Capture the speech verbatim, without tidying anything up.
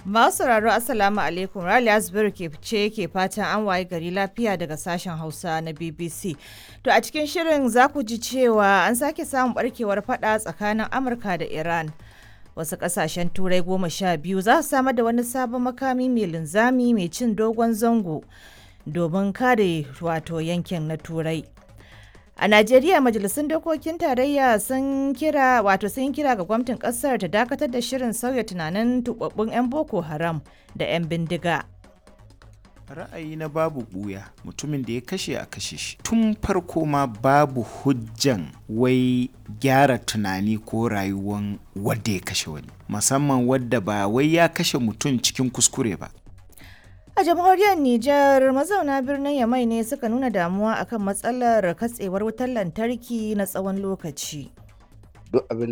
Masu sauraro, Assalamu alaikum. Raliya Zubairu ke ce ke fatan an waye gari lafiya daga sashen Hausa na B B C. To, a cikin shirin za ku ji cewa an sake samun barkewar fada tsakanin Amurka da Iran. Wasu kasashen Turai goma sha biyu za su samar da wani sabon makami mai linzami mai cin dogon zango domin kare wato yankin na Turai. A Najeriya, majalisun dokokin tarayya sun kira wato sun kira ga gwamnatin kasar ta dakatar da shirin sauya tunanin tubabbun 'yan Boko Haram da 'yan bindiga. Ra'ayi na babu ɓuya, mutumin da ya kashe a kashe shi. Tun farko ma babu hujjan wai gyara tunani ko rayuwan wadda ya kashe wani, musamman wadda ba wai ya kashe mutum cikin kuskure ba. A jamhuriyar Nijar, mazauna birnin Yamai ne suka nuna damuwa akan matsalar katsewar wutar lantarki na tsawon lokaci. Duk abin